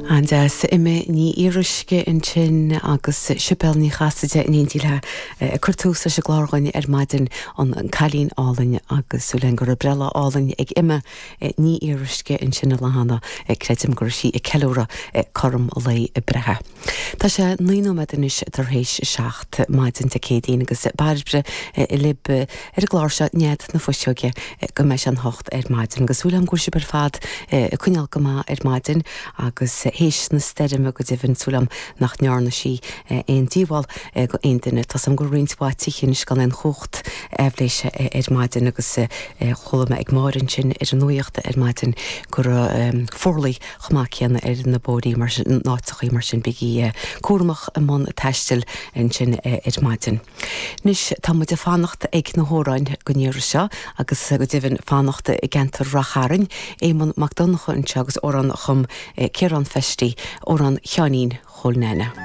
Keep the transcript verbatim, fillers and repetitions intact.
An-deas Emma Ní Fhíoruisce ansin agus Sibéal Ní Chasaide in éindí léi ag cur tús leis an gclár dhúinn ar maidin an Cailín Álainn agus súil go raibh breithlá álainn ag Emma Ní Fhíoruisce ansin i Lathána creidim go raibh sí ag ceiliúradh cothrom a lae breithe. Tá sé naoi nóiméad anois tar éis a seacht maidin Dé Céadaoin agus Bairbre libh ar an gclár seo Nead na Fuiseoige go mbeidh sé an hocht ar maidin agus súil agam go bhfuil sibh ar fad ag coinneáil go maith ar maidin agus théis na stoirme go deimhin súil agam nach ndearna sí aon díobháil go aon duine Tá am go roinnt mhaith tithe anois gan aon chumhacht aibhléise ar maidin agus chuala mé ag Máire ansin ar an nuacht ar maidin go raibh fuarlaigh chomh maith céanna ar na bóithrí mar sin áiteachaí mar sin bígí cúramach i mbun taistil ansin ar maidin. Anois tá muid ag fanacht ag na hamhráin don iarraidh seo agus go deimhin fanacht i gceantar Ráth Chairn, Éamonn Mac Donncha anseo agus amhrán a chum Ciarán Festy, amhrán Sheáinín Chóil Nana.